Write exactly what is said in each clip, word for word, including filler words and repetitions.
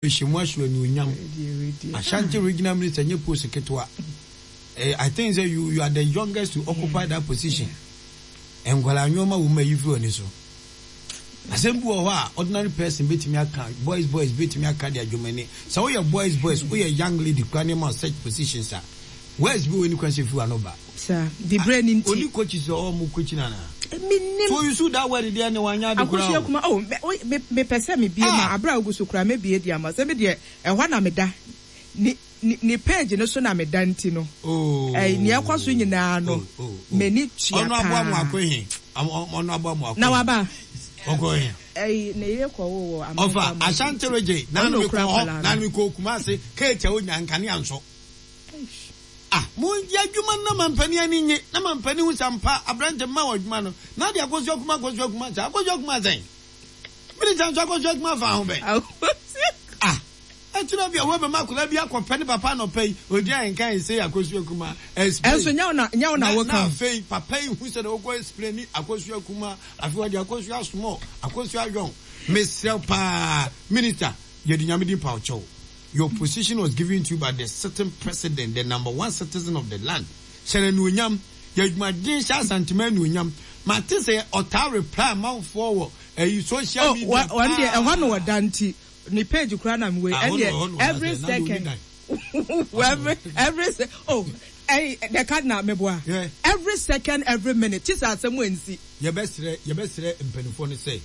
Hyɛ mu ahyɛ anuonyam. Ashanti Regional Minister nye post ketewa. Eh, I think say you you are the youngest to occupy that position. Nkwadaa nneɛma wɔ mu a yi fi wɔ so. Asɛm bi wɔ hɔ a ordinary person betumi aka, boys boys betumi aka de adwumani. Sɛ woyɛ boys boys, woyɛ young lady kura nneɛma such positions a, words bi wɔ ni kwan sɛ fi wa no ba. Sa dibre ni nti. Oni coaches ɔ mo coach nana. Minim. So you see that word there ne wanya de kura. Akosua Kuma, oh, me me pɛ sɛ me bie ma abra ogu so kura me bie di ama sɛ me deɛ ɛhɔ na me da. Ni ni ni page no so na me da nti no. Oh. Eh, nea ɛkɔ so nyinaa no. Oh, oh, oh. M'ani tua Ɔno aboa mu paa. akɔ he. Ɔno aboa mu akɔ. Na waba. Ɔkɔ he. Eh, ne yere kɔ wo wɔ Ɔfa Ashanti Region na Ɔno me okura kɔ hɔ akwadaa na no. me kɔ Kumasi keetia onya nkanea nso. Ah, mo yɛ adwuma no na mampani ani nye na mampani hu sampa aberante mma wɔ adwuma no na de Akosua Kuma, Akosua Kuma sɛ Akosua Kuma sɛn minister nso Akosua Kuma fa ho bɛn. Ah, ɛkyerɛ bi a wɔbɛma akwadaa bi akɔpɛ ne papa anɔpa yi odi a nka ɛsɛ Akosua Kuma explain. Ɛnso nyɛ wo na nyɛ wo na na woka. Na afei papa yi hu sɛ na wɔkɔ explain ni Akosua Kuma, afei wɔde Akosua small, Akosua young. Mesrɛ paa, minister, yɛde Nyame din pa ɔkyɛw. Your position was given to you by the sitting president, the number one citizen of the land. Hyɛ no anuonyam, yɛ adwumaden hyɛ Asantema anuonyam. Mate sɛ ɔtaa reply amanfoɔ wɔ ɛyi social Oh, media wɔn deɛ ɛhɔ na paa. wɔda nti ne page kura na mi wei Ah, hɔ na- hɔ ɛndeɛ na every wɔda sɛ, na deɛ ɔni second dan. every every se oh, ɛyi the cardinal meboa. Yeah. Every second, every minute ti sɛ asɛm nsi. Yɛbɛsrɛ yɛbɛsrɛ mpanimfoɔ no sɛ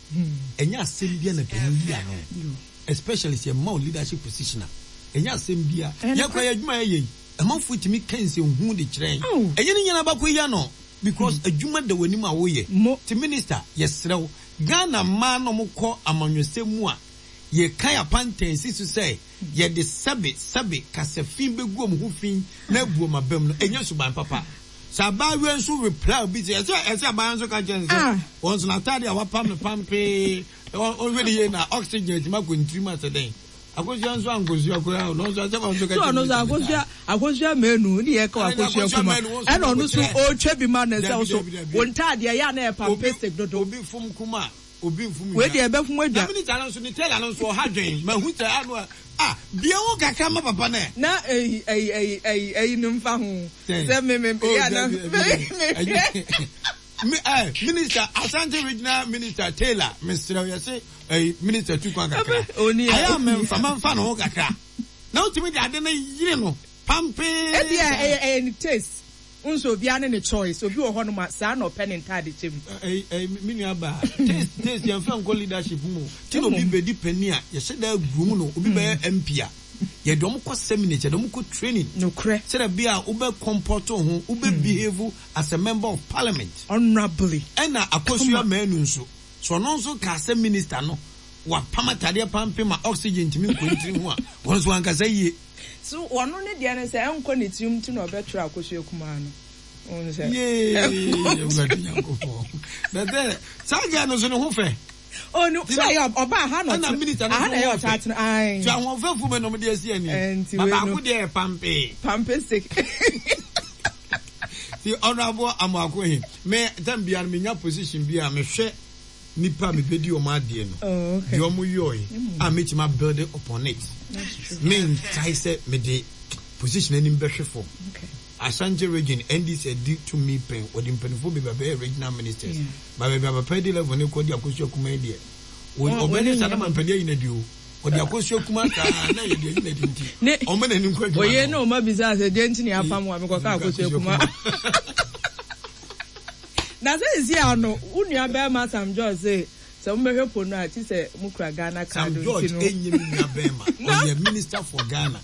ɛnyɛ asɛm bia na panin yi ano, especially sɛ ɛma wo leadership position a, ɛnyɛ asɛm bia. Ɛyɛ yɛkora yɛ adwuma yɛyɛ yi, ɛmanfoɔ tumi ka nsɛnhu de kyerɛ yɛn. Aw. Ɛnyɛ ne nyinaa baako yi ano because adwuma da w'anim a woyɛ. Mo. Ti minister, yɛsrɛ wo, Ghana mmaa na ɔmokɔ amanyɔsɛm mu a yɛka apantan si so sɛ yɛde sɛbe sɛbe kasafin bɛgu ɔmo ho fi na abu ɔmo abam no, ɛnyɛ suban papa. Sɛ abaayewa nso reply obi sɛ ɛsɛ ɛsɛ abaayewa nso ka kyerɛ no sɛ Ah. wɔn nso n'ataade a wapam no pampee ɔhwɛ ne yie na oxygen atumi akɔ ne tirim asɛ dɛn. Akosua nso ankosua koraa, ɔno nso asɛm a ɔnso ka So kyerɛ ɔno nso minister no Akosua saa. Akosua Menu ne yɛ ka Ɛna Akosua Akosua Kuma Menu, wɔn nso ɛna ɔno nso wɔkyerɛ. ɔretwa bi ma ne sɛ Dabi, ɔso dabi, dabi. wɔn ntaadeɛ yɛ a na yɛ Obi pampastic dodo. Obi fom kuma, obi nfom. Wei deɛ ɛbɛfom na adwa. Minister no nso ne tailor no nso ɔha dwen mahu sɛ ano a ah bie ho kakra ma papa no ɛ. Na ɛyi ɛyi ɛyi ɛyi ɛyi no mfa ho Sɛn? sɛ me me Oh, yɛ na dabi, dabi, dabi. Ɛnyɛ- Mi- eh, minister, Ashanti Regional Minister Taylor, mesrɛ wo, yɛse eh, minister tu kwan kakra. Oni a- ayɛ a memfa mamfa ne ho kakra na wotumi de ade no yere no pampee. Ebi a ɛyɛ ɛyɛ ne taste nso, obiara ne ne choice. Obi wɔ hɔnom a saa na ɔpɛ ne ntaade kyɛ mu. Eh, eh, me nua ba, taste taste yɛmfa nkɔ leadership mu. Ti na obi bɛdi panyin a yɛhyɛ da agu mu no, obi bɛyɛ M P a yɛde ɔmo kɔ seminar, yɛde ɔmo kɔ training nokorɛ sɛdeɛ bi a wobɛ comport wo ho, wobɛ behave as a member of parliament honourably. Ɛna Akosua Manu nso so, ɔno nso ka sɛ minister no wapam atadeɛ pampe ma oxygen ntumi nkɔ ne tiri ho a, wɔn nso ankasa yie. So ɔno ne deɛ no sɛ ɛnkɔ ne tirim ti na ɔbɛtwerɛ Akosua Kumaa no. Ohun sɛ Yee, Awurade Nyankopɔn, bɛtɛ saa gya no nso ne ho fɛ. Oh, no, sɛ ɛyɛ ɔbaa ha na ɛna ɔtena minister no aha na nso ɛyɛ ho ɔtaa fɛ. tena ae. Tí ahoɔfɛfo bɛ na ɔmo de asi ani Ɛnti ma wei baako no. deɛ yɛ pampee. Pampastic. Ti Honourable Amoako he, me time biara no menya position bi a mehwɛ nipa a mebɛdi ɔmo adeɛ no Oh, okay. deɛ ɔmo yɔɔe a metumi abuild upon it. That's true. Menkae sɛ mede position anim bɛhwɛ fam. Okay. Ashanti Region N D C adi tumi pɛn, wɔde mpanimfoɔ bebree abɛyɛ regional ministers Yeah. ba baabi a papa di level ne kɔ di Akosua Kuma yi deɛ Wɔn- ɔbɛne wɔn sa na nyɛ- mampanin ayi na di o, ɔde Akosua Kuma saa na yɛ de ayi na di nti Ne- ɔmo n'anim kɔ adwuma oye no. na ɔma bisa sɛ deɛ nti ne apam wa mekɔka Akosua Kuma na sɛ sisi ano wo nua bɛrima Sam George sɛ sɛ mobɛhwɛ po no a ti sɛ mokura Ghana card. Sam George nti no enye mi nua bɛrima, ɔyɛ minister for Ghana.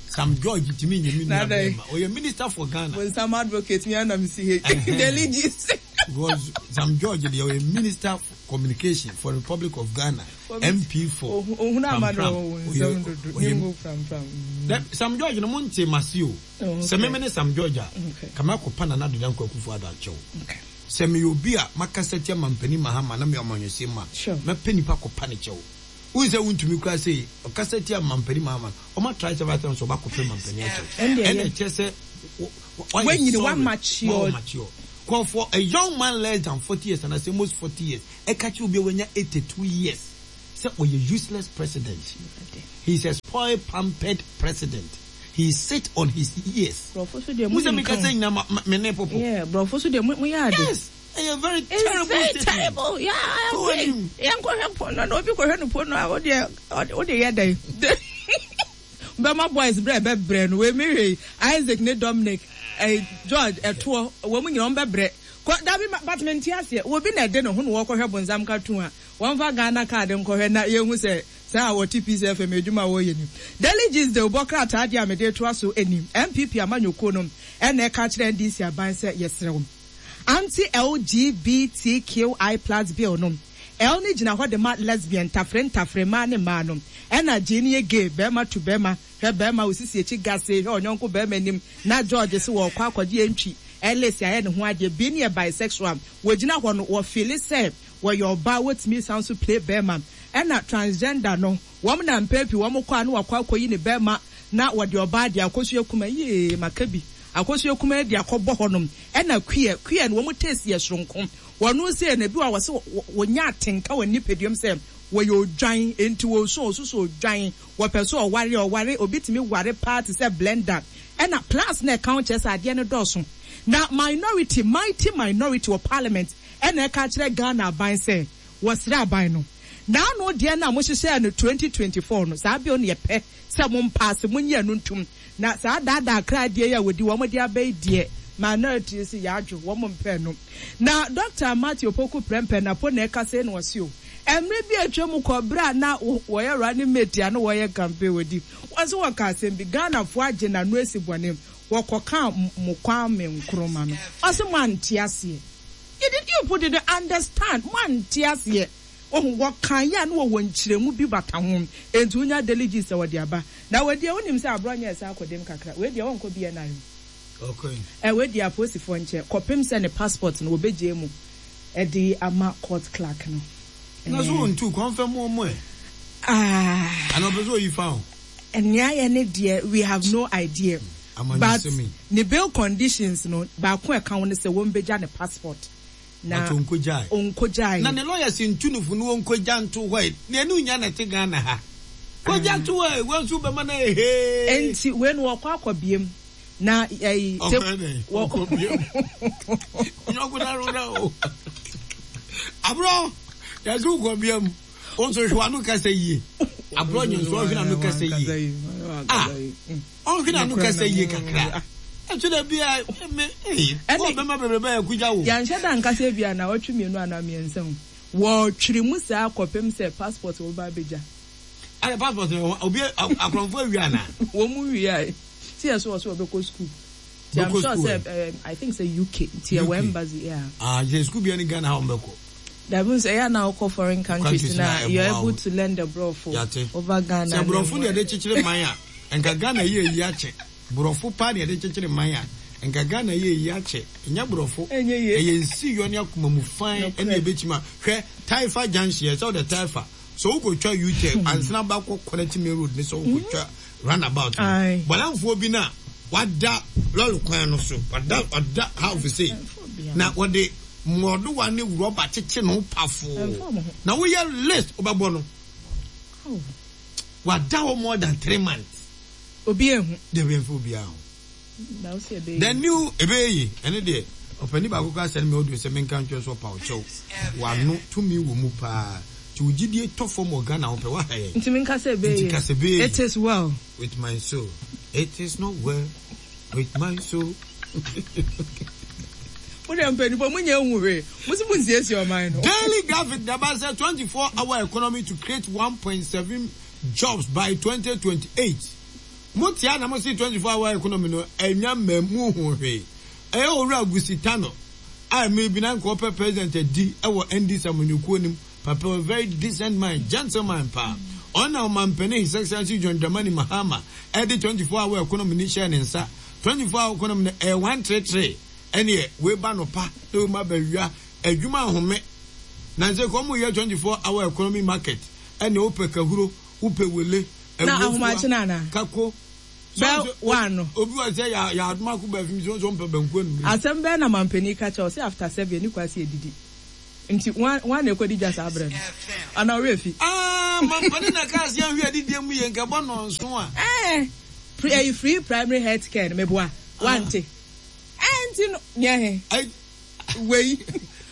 Sam George timi nye mi nua Na dɛn? bɛrima, ɔyɛ minister for Ghana. Bonsam advocate mi anam si he Ɛhɛn. Daily Gist. Because Sam George deɛ, ɔyɛ minister for communication for Republic of Ghana, M P for ohun ama no Prampram. wɔ Ɔyɛ- nsɛm dodo ɔyɛ- ne ngo Prampram. Dɛ- Sam George no mo nte mase o. Oh, okay. Sɛ meme ne Sam George a, Okay. kama akɔpa Nana Addo Dankwa Akufo Addo akyɛw Okay. sɛ meyɛ obi a makasa tia mampanin Mahama na meyɛ ɔmanyɔsɛm mu a, Sure. mɛpɛ nipa kɔpa ne kyɛw. Wohu sɛ wontumi kora sɛ ɔkasa tia mampanin Mahama no, ɔma try several times, ɔba kɔpɛ mampanin akyɛw. Ɛndeɛ ɛna yɛ. ɛkyɛ sɛ wo- wo- wayɛ Wanyini, sorry. wa-mature. Wa mature. Kɔ for a young man less than forty years and I say most forty years, ɛka kyerɛ obi a wanya eighty two years Sɛ ɔyɛ useless president. He is a spoiled, pampered president. He sit on his ears. Borɔfo so deɛ Mo mo sɛ nim mi ka kasa o. nyina ma ma- me ne popo. Yeah, borɔfo so deɛ mo mo yɛ ade. Yes, ɛyɛ very It's terrible very statement. terrible. Yeah, I Kɔ agree. anim. Yɛn kɔhwɛ pono na obi kɔhwɛ no pono a o deɛ o de yɛ dɛ. Bɛma boys brɛ bɛbrɛ no wei mi hwɛ Isaac ne Dominic ɛɛ George ɛtoɔ wɔn mu nyinaa wɔn bɛbrɛ. Kɔ dabi ma but mi nti aseɛ obi na ɛde ne ho na wɔkɔhwɛ bonsam cartoon a wɔn fa Ghana card nkɔhwɛ na yɛn hu sɛ saa a wɔte Peace F M edwuma a wɔyɛ ni. Daily Gist de bɔ krataa deɛ a mede to aso anim N P P amanyɔkuo no ɛna ɛka kyerɛ N D C aban sɛ yɛsrɛ wɔn anti L G B T Q I plus bill no. L ne gyina hɔ de ma lesbian, ntafere ntafere mmaa ne mmaa no, ɛna G ne yɛ gay, bɛrima to bɛrima. Hwɛ bɛrima osisi akyi gase, hwɛ ɔnyɔnko bɛrima anim na George sɛ wɔkɔ akɔgye entwi ɛlɛsi ayɛ ne ho adeɛ. B ne yɛ bisexual, wɔgyina hɔ no wɔfeel sɛ wɔyɛ ɔbaa, wɔtumi san so play bɛrima. Ɛna transgender no, wɔn na mpɛn pii wɔn kɔ a na wɔakɔ akɔyi ne bɛrima na wɔde ɔbaa de akɔsua kuma yee maka bi akɔsua kuma de akɔbɔ hɔnom. Ɛna queer, queer no wɔn taste yɛ soronko. Wɔn sɛ na bi wɔ wɔsɛ wɔnya atenka wɔ nipaduam sɛ wɔyɛ odwan, nti wɔsu osusu odwan, wɔpɛ so ɔware ɔware obi tumi ware paa te sɛ blender. Ɛna plus na ɛka ho kyerɛ sɛ adeɛ no dɔɔso. Na minority, mighty minority wɔ parliament ɛna ɛka kyerɛ Ghana aban sɛ wɔsrɛ aban no n'ano deɛ no a mohyehyɛ no twenty twenty-four no, saa bill no yɛpɛ sɛ mo mpaase monyɛ no ntum na saa daadaa kra deɛ yi a wɔdi wɔn de aba yi deɛ, minority si yɛadwo wɔn mpɛ no. Na Doctor Matthew Opoku Prempeh Napo na ɛka sɛ na wɔsi o mmerɛ bi atwa mu kɔ berɛ a na wɔyɛ running mate a na wɔyɛ campaign, wɔdi wɔn nso wɔka asɛm bi, Ghanafoɔ agye n'ano esi bɔne, wɔkɔka mo Kwame Nkrumah no, ɔsɛ mo ante aseɛ. You did, you put it, understand, mo ante aseɛ. Ohun wɔka yɛ a na wɔwɔ nkyerɛmu bi bata ho. Nti wonya Daily Gist sɛ wɔde aba na wɔdeɛ wonim sɛ aborɔ nyɛ ɛsɛ akɔdɛm kakra. Wei deɛ wɔnkɔ B N I o. Okay. Ɛ wei deɛ apolisifoɔ nkyɛn kɔpem sɛ ne passport no wɔbɛgye mu ɛde ama court clerk no. Na so wɔn tu kɔnfɛn mu ɔmo ɛ. Ah. Ana ɔpɛ sɛ oyi fa o. Nea yɛ ne deɛ, we have no idea. But ne bail conditions no baako a ɛka ho ne sɛ wɔn bɛgya ne passport na onkogyae. Onkogyae. Na ne lawyers ntu no fo no wɔnkogya nto hɔ yi na ɛne nya na ɛte Ghana ha kogya to hɔ yi wɔn nso bɛma no ehee. Nti wei no wɔkɔ akɔ biem na ɛyi. Ɔkɔ dɛ ɔkɔ biem nyɔnko na roda o aborɔ yɛsɛ wokɔ biem wɔn nso hwɛ wano kasa yie, aborɔ nyɛ nso ɔhwɛ n'ano kasa yie, ah, ɔhwɛ n'ano kasa yie kakra ɛtwe dɛ bia me ee wɔn bɛma bebrebe yɛ kugya wo. Yɛnhyɛ da nkasa bi a na ɔtwe mmienu anaa mmiɛnsa mu wɔtwere mu saa kɔpem sɛ passport wɔba abɛgya. Ɛna passport no obi akorɔmfo awie ana? Wɔn mu wie a ti yɛ so wɔ so wɔbɛkɔ school ti I'm sure sɛ um, I think sɛ U K ti yɛ wɔ embassy, yeah. Ah, yɛ school bi ɛni Ghana ha wɔn bɛkɔ. Dabi, sɛ ɛyɛ na wokɔ foreign countries na you are able to learn the borɔfo over Ghana. Sɛ borɔfo na yɛde kyekyere man a, nka Ghana yɛ eyi akyɛ. Borɔfo paa na yɛde kyekyere man a, nka Ghana yɛ eyi akyɛ. Ɛnyɛ borɔfo, ɛyɛ nsi yɔ ne akoma mu fan ɛne ebɛkyima. Hwɛ Taifa junction yɛ sɛ ɔde Taifa so wokɔtwa U-turn ansana bakɔ connect main road ne sɛ wokɔtwa runabout no, bɔlanfoɔ bi na wada lɔri kwan no so, wada wada half sei na wɔde mmɔdowa ne rɔba kyekye ne ho pafoo na woyɛ list wobɛbɔ no, wada hɔ more than three months. Obi ehu. Debi nfa obi ahu. The new ebe yi ɛne deɛ ɔpanin baako kora sɛne mi ɔdun sɛ menka ntwɛ so ɔpa ɔkyɛw wano tumi wɔ mu paa nti ogyidie tɔ fam wɔ Ghana ho pɛ waha yɛn. Nti menka sɛ ebe. Nti kasa ebe. It is well. With my soul, it is not well with my soul. Mo de mpanyinfoɔ mo nyɛ ehu hwee, mo si mo nsiesie ɔman no. Daily Graphic daba sɛ twenty four hour economy to create one point seven jobs by twenty twenty eight. Mo tia na mo si twenty four hour economy no ɛnya mmamu ho hwee. Ɛyɛ Owura Gusitano a mmiri bi na nka ɔpɛ president adi ɛwɔ N D C amanyɔkuo nim papa, a very decent man, gentleman paa. Ɔna ɔmampanin His Excellency John Dramani Mahama ɛde twenty four hour economy ni hyɛ ne nsa. Twenty four hour economy no ɛyɛ one three three, ɛneɛ wei ba no pa na wei ma ba wia adwuma ahome na nsɛ kɔn mu yɛ twenty four hour economy market, ɛne wopɛ kahuro, wopɛ wele. Na ahomakye na ana. Kako. Bɛ one no. Obi wa sɛ yɛ yɛ adoma ko baafi mi sɛ ɔmpɛ banku anum. Asɛm bɛɛ na mampanin ka kyerɛ ɔsɛ after seven ni kwasi edidi, nti wɔn wɔn na ekɔdi dwa saa abirɛ no ana ɔwɛ fi. Aa. Ah, mampani na kaa sɛ yɛnhwɛ adidie mu yɛ nkɛbɔ nɔnso a. Eh, pre, eh, free primary health care no meboa wante ɛnti no neɛ he Ai- wei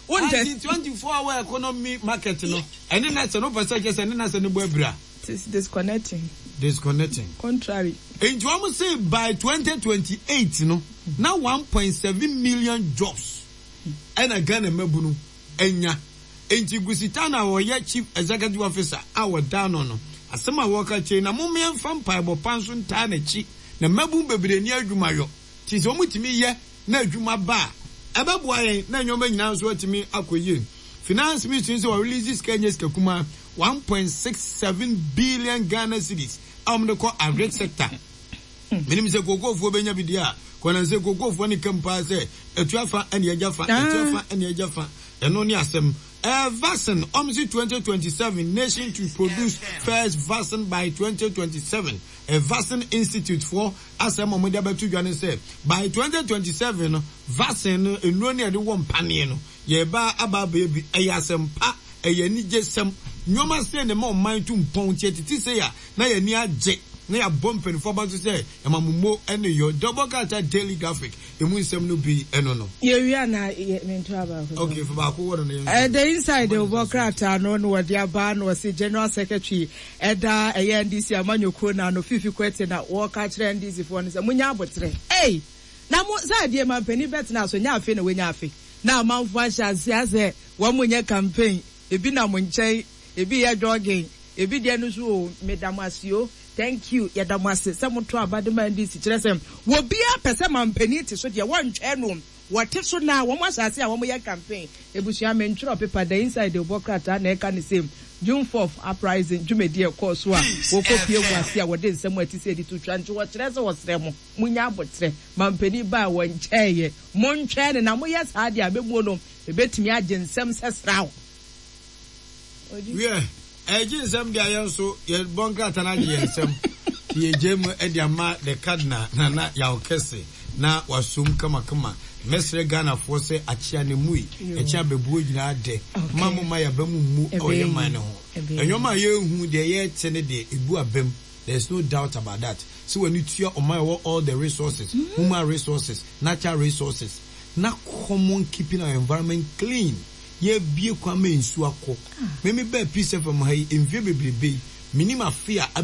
wontɛ. Anti twenty four hour economy market no, ɛne na sɛ no pɛ sɛ kyɛ sɛ ne na sɛ ne bɔ abira. It is disconnecting. Disconnecting. Contrary. Nti wɔn say by twenty twenty eight no na one point seven million jobs ɛna Ghana mabunu anya. Nti Gusita na wɔyɛ chief executive officer a wɔda no no asɛm a wɔka kyerɛ na mo mmeɛnfa mpaebɔ pa nso ntaa n'akyi na mabun bebree ni adwumayɔ ti sɛ wɔn tumi yɛ na adwuma ba a, ɛbɛboa yɛn na nneɛma nyinaa nso atumi akɔ yie. Finance Ministry nso wɔ release sika nye sika kuma one point six seven billion Ghana cedis a wɔn de kɔ agric sector. Menim sɛ kookoofoɔ bɛnya bi deɛ a kɔnɔ sɛ kookoofoɔ ne kam paa sɛ atua fa ɛne agya fa, atua fa ɛne agya fa. Ɛno ne asɛm. ɛɛ vaccine ɔmo twenty twenty seven nation to produce first vaccine by twenty twenty seven. Ɛ Vaccine Institute foɔ asɛm a wɔde abɛto dwa ne sɛ by twenty twenty seven no, vaccine no, nnuro ne yɛde wɔ mpaneɛ no, yɛba aba abɛyɛ bi. Ɛyɛ asɛm pa, ɛyɛ anigye sɛm. Nneɛma sɛ ne ma ɔman tu mpɔn nti ɛtete sɛ a na yɛni agye na yɛabɔ mpanimfoɔ aba so sɛ ɛma mo mo ɛne yɔ dɔbɔ krataa. Daily Graphic emu nsɛm no bi ɛno no. Yɛwie na yɛ mento abaako. Okay, fa baako wɔ no no yɛn. Uh, the Inside wɔ krataa no na wɔde aba na wɔsi general secretary ɛda ɛyɛ N D C amanyɔkuo na no Fifi Kwete na wɔka kyerɛ N D C foɔ no sɛ munya abotrɛ. Ei, na mo sɛ adeɛ ma mpanin bɛtena so nyɛ afe na wɔnya afe na amanfoɔ ahyɛ ase asɛ wɔn mo nyɛ campaign. Ebi nam nkyɛn, ebi yɛ jogging, ebi deɛ no so o, meda mo ase o, thank you, yɛda mo ase sɛ mo to aba de ma N D C. Kyerɛ sɛ wɔbiara pɛ sɛ mampanin te so deɛ, wɔntwɛn no wɔte so na wɔn ahyɛ ase a wɔn yɛ campaign. Ebusua, mentwerɛ pepa. The Inside bɔ krataa na ɛka ne same June fourth uprising dwumadi ɛkɔɔ so a wɔkɔ pie mu ase a wɔde nsɛm a ɛte sɛ ɛde to twa. Nti wɔkyerɛ sɛ wɔsrɛ mo, munya abotrɛ, mampanin ba a wɔnkyɛɛyɛ, montwɛn ne na moyɛ saa deɛ a bɛmuo no ebɛtumi agye nsɛm sɛ sraw. Wiɛ, ɛgye nsɛm deɛ, yɛn nso yɛbɔ nkrataa no agye yɛn nsɛm. Yɛgye mu de ama the Cardinal Nana Yaw Kɛse na wasom kamakama. Mɛsrɛ Ghanafoɔ sɛ akyea ne mu yi ɛkyɛ abɛbuo nyinaa dɛ ma mo ma yɛaba mu mu ɛwɔ yɛ man no ho. Ɛnwɔma a yɛnhu deɛ yɛte ne deɛ ɛbu abam, there is no doubt about that sɛ w'ani tua ɔman ɛwɔ all the resources, human resources, natural resources, na common keeping our environment clean. Yɛbie kwan ma nsuo akɔ. Mɛmi bɛɛ Peace F M ha yi mfie bebrebe yi, menim afe a